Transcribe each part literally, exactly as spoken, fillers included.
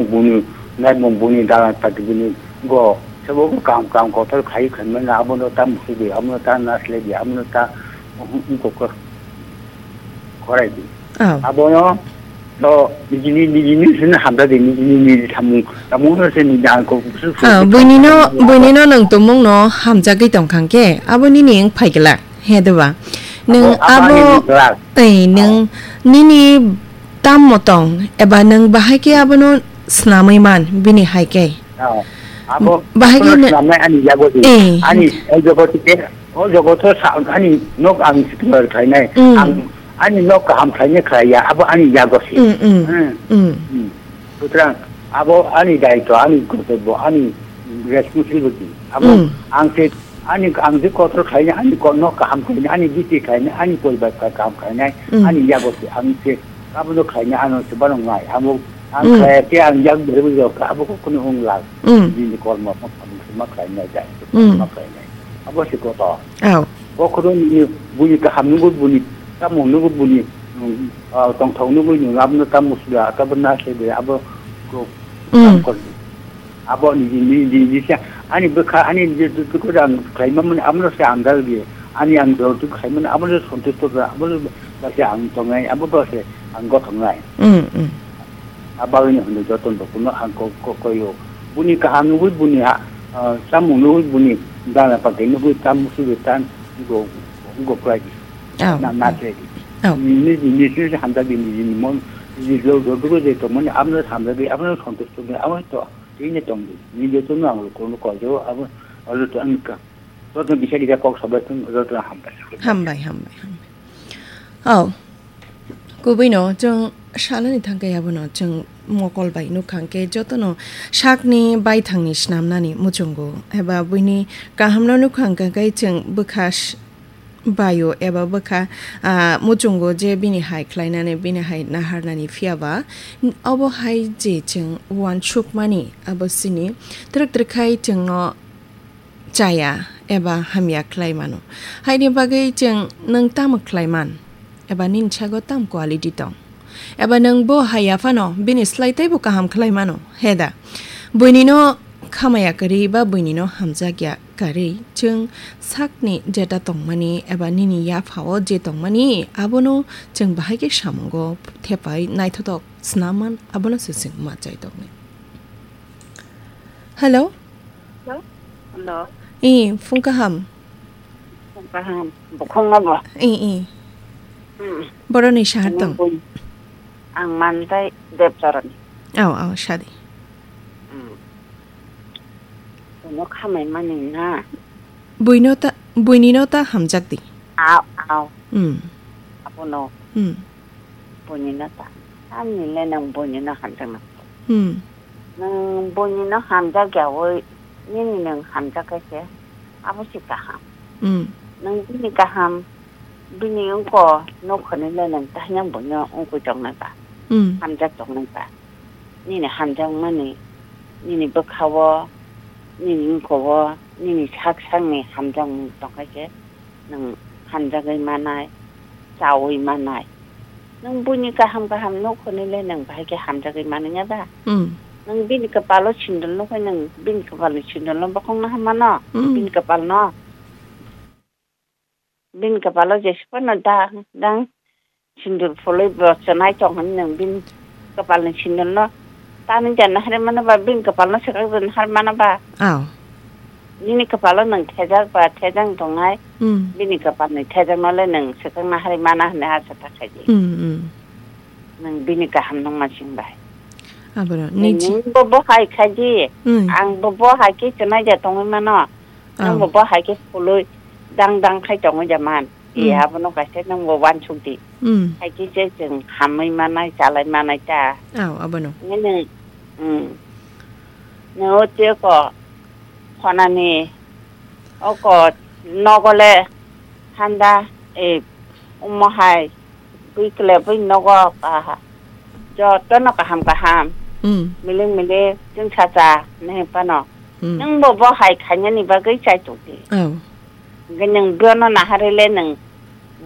Buni naimung buni dalan pati buni go. Sabo bo kam, kam kotor khai khanmani abono ta musubi, abono ta nasledi, abono ta ungkoko koraidi. Oh. Abono to nijini, nijini sini hamdadi, nijini, niji samung, samung no se niji angko busu. Oh, buini no, buini no nang tumung no hamjagwi tongkhang ke, abo nini wng phaigla. He deba. Nwng abo, abo abo ani ni glak. Ei, nwng nini tammo tong, eba nwng bahai khe abono snamwi man, bini hai khe. Oh. Abo bahai khe abono nw-, snamnai ani yago di. Eh. Ani, o jogoto ke, o jogoto sa, ani nok ang siklar khainai. Mm. Ang, ani nok kaham khainai khaiya, abo ani yago si. Mm, mm. Hmm. Mm. Hmm. Sutrang, abo ani daito, ani kortobbo, ani responsibility. Abo Mm. ang se Ani ang je kotor khainai, ani ko-, nok kaham khainai, ani biti khainai, ani poribar ka-, kaham khainai, Mm. ani yago se ang se abono khainai, ano se bono ngai. Amo ang Mm. khaya khe ang yak beri beri ka abo ko kuno wng lak. Mm. Bini kormo ma khainai jai. Mm. Ma khainai. Abo se kotor. Aw. Bo kotor ni buni kaham nugwi buni tamo nugwi buni, mm, ah, tongthok nugwi nung abono tamo suda, abo na se de abo ko Mm. kam kor. Abo ni, ni, ni, ni sa, ani bwkha, ani je, je, je, je, ang khlaima mani, amo se ang dal ge. Ani ang dor tu khlaima mani, amo se santusto ge, amo se ba se ang tongnai, abo ba se ang gothongnai. Mm, mm. Abo ni hwnwi joto no kuno ang ko, ko, koyo. Buni kaham nugwi buni ha, ah, samung nugwi buni dana pakai nugwi tam musu ge tan go, go kwlai di. Oh, Na, na oh. Kwlai di. Oh. Ni, ni, ni, ni, hamda di, ni, ni, mon, ni, lo, lo, lo, je to mani, amo se hamda di, amo se santusto ge, amo to. Tini tongdi, ni jotono ang lukurokno koijago, abo, abo joto ang ka-, jotono bisa bisa kok sabai thung, jotono hambai. Hambai, hambai, hambai. Oh, kubui no, chwng salani thangkhe abono, chwng mokol bai nukha hwnkhe, jotono sakni baithangni snamnani muchungo, eba buini kahamno nukha hwnkhe, chwng bwkha s-, baio eba bwkha, ah, muchungo je bini hai khlainani, bini hai naharnani phiya ba, n-, obo hai je chwng uansukmani, abo chini twrwk twrwk khai chwngno chaya eba hamya khlai mano. Haini bagwi chwng nwng tamo khlai man? Eba nini sago tam quality tong? Eba nwng bo haiya phano bini slai teibo kaham khlai mano, he da? Buini no khamaya kwrwi ba buini no hamjakya kwrwi, chwng sakni jeta tongmani eba nini yaphao je tongmani, abono chwng bahai khe samungo thepai naithotok snam man, abono se chwng ma chai tongni. Hello? Hello? Hello? Ee, phung kaham. Kaham, bukhung abo. Ee, ee. Hmm. Boroni sahar tong. Ang bun-, ang mantai Debcharan. Aw, aw, sadi. Hmm. Bono khamai mani na. Buino ta, buini no ta hamjak di. Aw, aw. Hmm. Abono. Hmm. Buini no ta. Ani le nang buini no hamjak na. Hmm. Nwng buini no hamjak ya oi, nini nwng hamjak khe se, abo se kaham. Hmm. Nwng bini kaham, bini wngko, nokhani le nwng tahina buino wngkui tongnai ba, Hmm. hamjak tongnai ba. Nini hamjakmani, nini bwkha-o, nini wngko-o, nini sak sakni hamjakmung tongkha khe, nwng hamjagwi manai, chaui manai. Nwng buini kaham kaham nuk hwnwi le nwng bahai khe hamjagwi manwi ya da? Hmm. Nwng bini kwpalo sindil nuk hwnwi nwng bini kwpalni sindilno bokhokno ham mano? Hmm. Bini kwpalno? Bini kwpalo jesa phano da, dang sindil phulwi bo chwnai tong hwnwi nwng bini kwpalni sindilno tanwi ja nahar mano ba, bini kwpalno swkak ja nahar mano ba? Aw. Nini kwpalo nwng thejak ba thejak tongnai, Hmm. bini kwpalni thejakno le nwng swkak nahar mana hwnwi asa ta khai di. Hmm, hmm. Nwng bini kaham nungma sing bai. Aboro, Nwng niji- bo bo hai khai di. Hmm. Ang bo bo hai khe chwnai ja tongwi mano. Aw. Nwng bo bo hai khe phulwi dang dang khai tongwi ja man. Hmm. E abono kaisa nwng bo uansuk di. Hmm. Hai khe se chwng hamwi manai, chalai manai ta. Aw, abono. Nwng, hmm. Nwng o tei ko khonani oko nogo le handa, e, omo hai bui kle bui nogo kaha. Jotono kaham kaham. Hmm. Miling miling chwng sacha nai phano. Hmm. Nwng bo bo hai khainani bagwi chai tong di. Aw. Hwnkhe nwng bono naharwi le nwng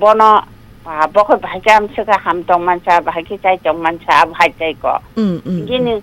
bono, ah, bo khe bahai khe amswk khe ham tong mansa, bahai khe chai tong mansa, abo hai chai ko. Mm, mm, Hwnkhe mm. nwng